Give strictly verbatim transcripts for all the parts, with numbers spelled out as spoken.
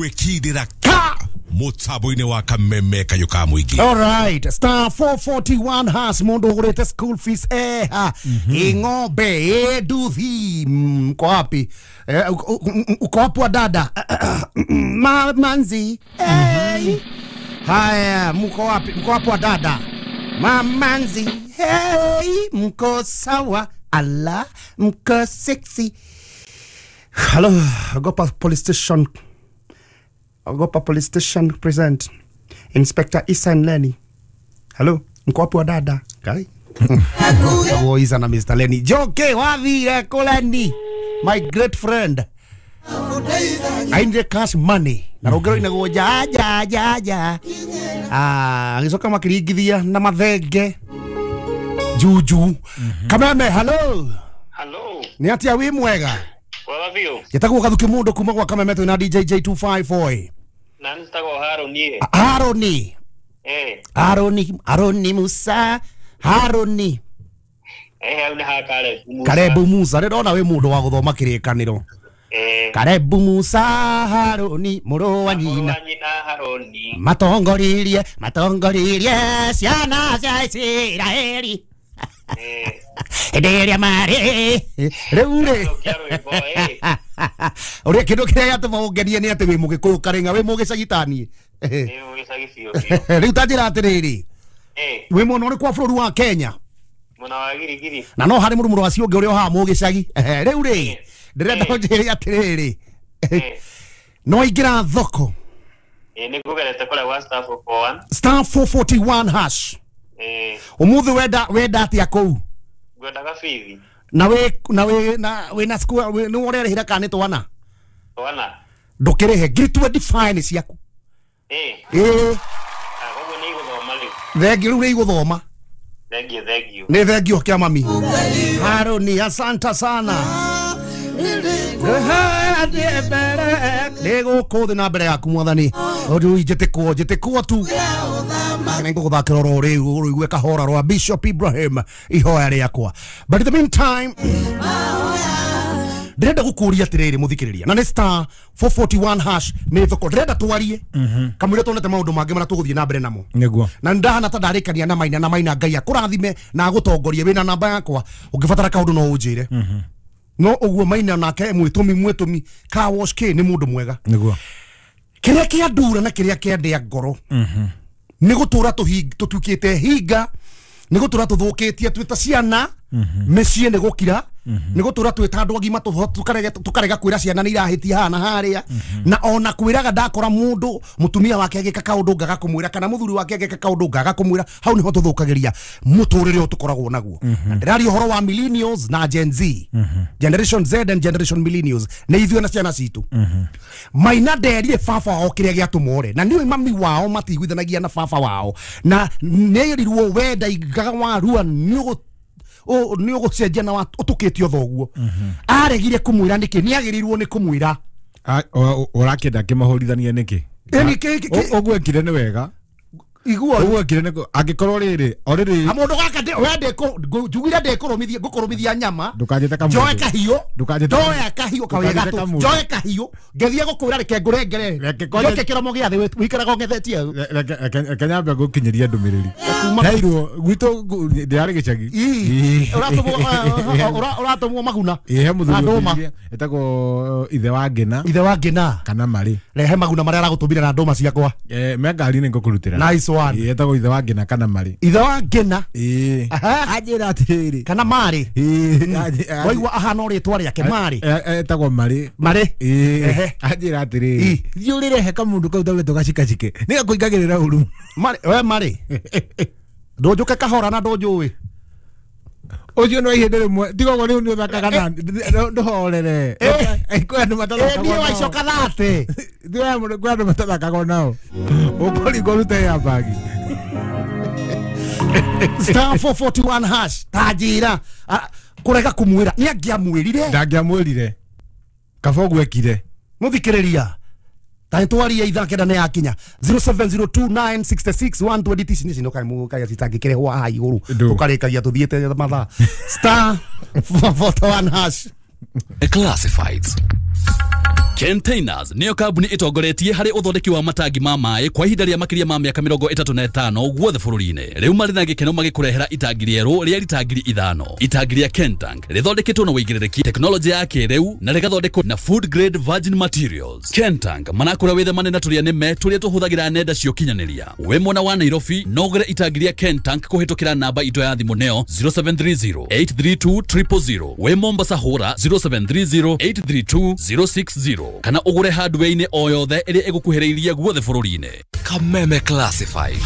Gwikindira ka mutambo-inĩ wa Kameme Kayũ ka Mũingĩ. All right, star four forty-one hash mundu ugurite school fees eh ha ing'ombe eh nduthi mko wapi eh, uko wapi wa dada ma manzi eh haya mko wapi mko wapi wa dada ma manzi hey mko sawa ala mko sexy. Hello, Ogopa Police Station. Ogopa Police Station present Inspector Isa and Lenny. Hello, mko wapi wa dada? Kai. Wo Isa na Mister Lenny. Joke wathire ko Lenny, my great friend. Ainde cash money. Na rogero inagwo ja ja ja ja. Ah, agicoka makiringithia na mathenge. Juju. Kameme, hello. Hello. Ni atia wi mwega? Wega biũ. Njĩtagwo Gathuki Mũndũ kuma gwa Kameme twĩna D J J two five four. Na njĩtagwo Haroni. Haroni. Eh. Haroni, Haroni Musa, Haroni. Eh, hau nĩ ha Karebu Musa. Karebu Musa, ndĩrona wĩ mũndũ wa gũthoma kĩrĩkanĩro. Eh. Karebu Musa, Haroni, mũrũ wa nyina. Mũrũ wa nyina Haroni. Matongoririe, matongoririe ciana cia Isiraeli. Hĩndĩ ĩrĩa marĩ rĩu rĩ ũrĩa kĩndũ kĩrĩa gĩatũma ũngenie nĩ atĩ wĩ mũgĩkũyũ karĩng'a wĩ mũgĩcagi ta niĩ. Rĩu ta njĩra atĩrĩrĩ, wĩ mwena ũrĩkũ wa bũrũri wa Kenya? Mwena wa Girigiri. Na no harĩ mũrũmũrũ wacio ũngĩ ũrĩa ũhaha mũgĩcagi. Rĩu rĩ ndĩrenda ũnjĩre atĩrĩrĩ, no waingĩra thoko? Nĩ ngũgerete kũrĩa gwa star four four one. Star four forty-one hash. Umuthi wenda wenda atia kũu? Ngwendaga bithi. Na we na we na we na school nĩ ũrerĩhĩra kana nĩ twana? Twana. Ndũkĩrĩhe ngiri twenty-five nĩ ciaku. Eh. Eh. Ah, koguo nĩ igũthoma rĩu. Thengiũ rĩu nĩ igũthoma. Thengiũ, thengiũ. Nĩ thengiũ kĩa mami. Haroni, asante sana. Nĩ gũkũ thĩ na mbere yaku mwathani. Ũndũ njĩtĩkwo njĩtĩkwo tu. Nĩ ngũgũthakĩra oro rĩu ũrũigue kahora rwa Bishop Ibrahim ihoya rĩakwa. But in the meantime ndĩrenda gũkũria atĩrĩrĩ mũthikĩrĩria, na nĩ star four forty-one hash nĩ thoko ndĩrenda twarie kamũira tuonete maũndũ mangĩ marĩa tũgũthiĩ na mbere namo. Nĩguo. Na ndahana ta ndarĩkania na Maina na Maina Ngai akũrathime na agũtongorie. Wĩna namba yakwa ũngĩbatara kaũndũ no ũnjĩre. No ũguo Maina nake mwĩtũmi mwĩtũmi car wash K nĩ mũndũ mwega. Nĩguo. Kĩrĩa kĩandura na kĩrĩa kĩandĩa ngoro nĩ gũtũra tũtuĩkĩte hinga, nĩ gũtũra tũthũkĩtie twĩ ta ciana mĩciĩ nĩ gũkira, nĩ gũtũra twĩ ta andũ agima tũkarega kwĩra ciana nĩ irahĩtia haha na harĩa, na ona kwĩraga ndakora mũndũ mũtumia wake agĩka kaũndũ ngaga kũmwĩra kana mũthuri wake agĩka kaũndũ ngaga kũmwĩra. Hau nĩho tũthũkagĩria mũtũrĩre ũyũ tũkoragwo naguo. Na ndĩraria ũhoro wa millennials na Gen Z, Generation Z and Generation millennials, nĩ ithuĩ na ciana citũ. Maina nderire baba wao kĩrĩa gĩatũma ore, na nĩũĩ mami wao matiguithanagia na baba wao, na nĩerirwo wenda ingaga warua nĩ nĩ ũgũcenjia na ũtũkĩtio thoguo. Aregire kũmwĩra nĩkĩ? Nĩ agĩrĩirwo nĩ kũmwĩra. Ũrakĩenda kĩmahũrithanie nĩkĩ? Ũguo ekire nĩ wega. Igua ũguo ekire nĩ angĩkorwo rĩrĩ o rĩrĩ mũndũ gaka we ndĩkũ njugire ndĩkũrũmithia ngũkũrũmithia nyama ndũkanjĩte kamũndũ njoe kahiũ ndoya kahiũ kawega Ndũkanjĩte kamũndũ. Njoe kahiũ ngĩthiĩ gũkwĩra reke ngũrengere Reke kwanja- njoke kĩromo gĩa thĩ wĩikaraga ũng'ethetie hau. Reke reke nyambe ngũkinyĩrie ndũmĩrĩri. Kuma- Heirwo gwitũ ndĩrarĩ gĩcagi. Ii, ũratũmwo ũratũmwo maguna Ĩ he mũthuri Na ndũma. ũngĩ etagwo ithe wa Ngĩna ithe wa Ngĩna kana marĩ rehe maguna marĩa aragũtũmire na ndũma ciakwa. Eh, me ngari-inĩ ngũkũrutĩra. Nice one. Ĩ etagwo ithe wa Ngĩna kana marĩ. Ithe wa Ngĩna. Ĩ Aha. anjĩra atĩrĩrĩ. Kana marĩ. Ĩ anjĩ- Waigua ahana rĩtwa rĩake marĩ. Eh, etagwo marĩ. Marĩ. Ĩ Ehe. anjĩra atĩrĩrĩ. Ĩ. Thiĩ ũrĩrehe kamũndũ kau taũrĩtwo gacikacike nĩgakũingagĩrĩra ũru. Marĩ we marĩ. Ndũnjũke kahora na ndũnjũĩ. Ũcio no ihinda rĩmwe tiga ũguo rĩu nĩ ũthakaga na ndũhorere. Eh. Kwĩ andũ matathakaga Niĩ nao. waicoka thate. Kwĩ andũ kwĩ andũ matathakaga nao. Ũkũringwo ũrute ya bagi. Star four forty-one hash ta njĩra kũrega kũmwĩra nĩ angĩamwĩrire. Ndangĩamwĩrire. Kaba ũguo ekire. Mũthikĩrĩria ta nĩtwaria ithaa kenda nĩ yakinya zero seven zero two nine six six one two eight ici nĩ kaimũ citangĩkĩrehwo haha igũrũ Ndũ. tũkarĩkagia tũthiĩte mathaa. Star four forty-one hash. Classifieds. Containers nĩyo kambuni ĩtongoretie harĩ ũthondeki wa matangi ma maĩ kwa ihinda rĩa makĩria ma mĩaka mĩrongo ĩtatũ na ĩtano guothe bũrũri-inĩ. Rĩu marĩ na gĩkeno magĩkũrehera itangi rĩerũ rĩa rita ngiri ithano. Itangi rĩa Kentank rĩthondeketwo na wĩigĩrĩrĩki, tekinoronjĩ ya kĩrĩu na rĩgathondekwo na food grade virgin materials. Kentank marakũra wĩthemane na tũrĩa nĩme tũrĩa tũhũthagĩra nenda cia ũkinyanĩria. Wĩ mwena wa Nairobi no ũgũre itangi rĩa Kentank kũhĩtũkĩra namba itũ ya thimũ nĩyo zero seven three zero eight three two triple zero. Wĩ Mombasa hũra zero seven three zero eight three two zero six zero kana ũgũre hardware-inĩ o yothe ĩrĩa ĩgũkuhĩrĩirie guothe bũrũri-inĩ. Kameme Classifieds.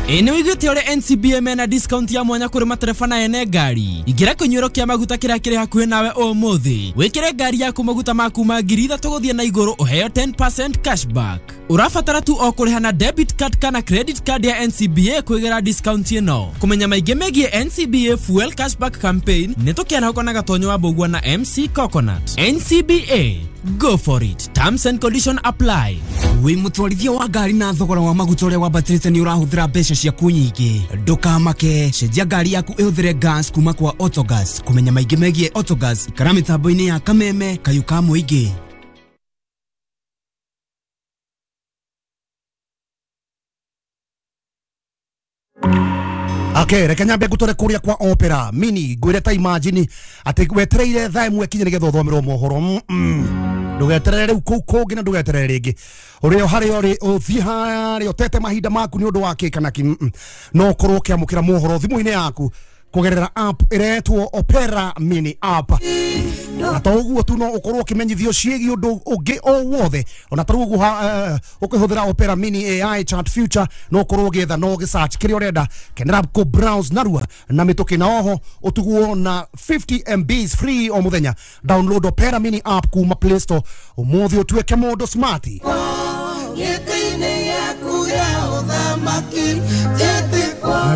Ĩ nĩ wĩiguĩte ũrĩa N C B A mena discount ya mwanya kũrĩ matereba na ene ngari. Ingĩra kĩnyuĩro kĩa maguta kĩrĩa kĩrĩ hakuhĩ nawe ũmũthĩ. Wĩkĩre ngari yaku maguta ma kuma ngiri ithatũ gũthiĩ na igũrũ ũheo ten percent cashback. Ũrabatara tu o kũrĩha na debit card kana credit card ya N C B A kwĩgĩra discount ĩno. Kũmenya maingĩ megiĩ N C B A Fuel Cashback Campaign nĩ tũkĩarahũka na Gatonyo wa Mbũgua na M C Coconut. N C B A, go for it. Terms and conditions apply. Wĩ mũtwarithia wa ngari na thogora wa maguta ũrĩa wambatĩrĩte nĩ ũrahũthĩra mbeca ciaku nyingĩ. Ndũkamake, cenjia ngari yaku ĩhũthĩre gas kuma kwa Autogas. Kũmenya maingĩ megiĩ Autogas, ikara mĩtambo-inĩ ya Kameme, kayũ ka mũingĩ. Okay, reke nyambe ngũtware kũrĩa kwa Opera Mini ngwĩre ta imagine atĩ wetereire thaa ĩmwe kinye nĩgetha ũthomerwo mohoro. Ndũgeterere rĩu kũu kũngĩ na ndũgeterere rĩngĩ. Ũrĩa harĩa ũrĩ ũthiĩ harĩa ũtete mahinda maku nĩ ũndũ wa kĩ kana kĩ, no ũkorwo ũkĩamũkĩra mohoro thimũ-inĩ yaku kũgerera app ĩretwo Opera Mini app. Na to ũguo tu no ũkorwo ũkĩmenyithio ciĩgiĩ ũndũ ũngĩ o wothe. Ona ta rĩu ũguo ũkĩhũthĩra Opera Mini A I chat future no ũkorwo ũgĩetha no ũgĩsearch kĩrĩa ũrenda, kenera kũ browse narua na mĩtũkĩ, na oho ũtugwo na fifty M Bs free o mũthenya. Download Opera Mini app kuma Play Store ũmũthĩ ũtuĩke mũndũ smart.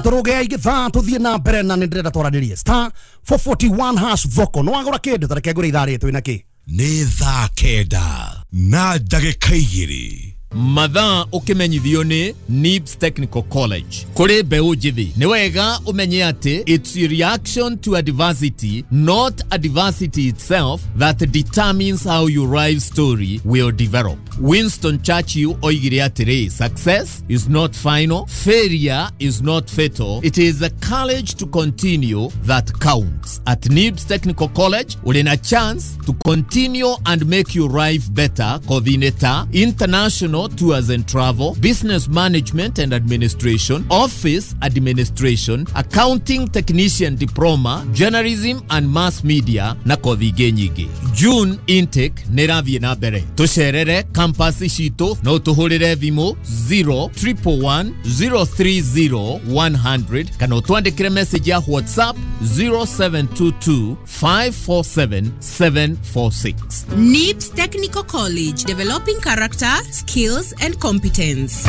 Tũrũge aingĩ thaa tũthiĩ na mbere na nĩ ndĩrenda twaranĩrie star four forty-one hash thoko no wagũra kĩndũ tareke ngũre ithaa rĩrĩ twĩna kĩ. Nĩ thaa kenda na ndagĩka igĩrĩ. Mathaa ũkĩmenyithio nĩ Nibs Technical College. Kũrĩ mbeũ njĩthĩ nĩ wega ũmenye atĩ it's a reaction to adversity, not adversity itself, that determines how your life story will develop. Winston Churchill oigire atĩrĩ, success is not final, failure is not fatal, it is the courage to continue that counts. At Nibs Technical College ũrĩ na chance to continue and make your life better. Coordinator, international tours and travel, business management and administration, office administration, accounting technician diploma, journalism and mass media na kothi ingĩ nyingĩ. June intake nĩ ĩrathiĩ na mbere. Tũcerere campus citũ no tũhũrĩre thimũ zero triple one zero three zero one hundred kana ũtwandĩkĩre message ya WhatsApp zero seven two two five four seven seven four six. Nibs Technical College, developing character, skills and competence.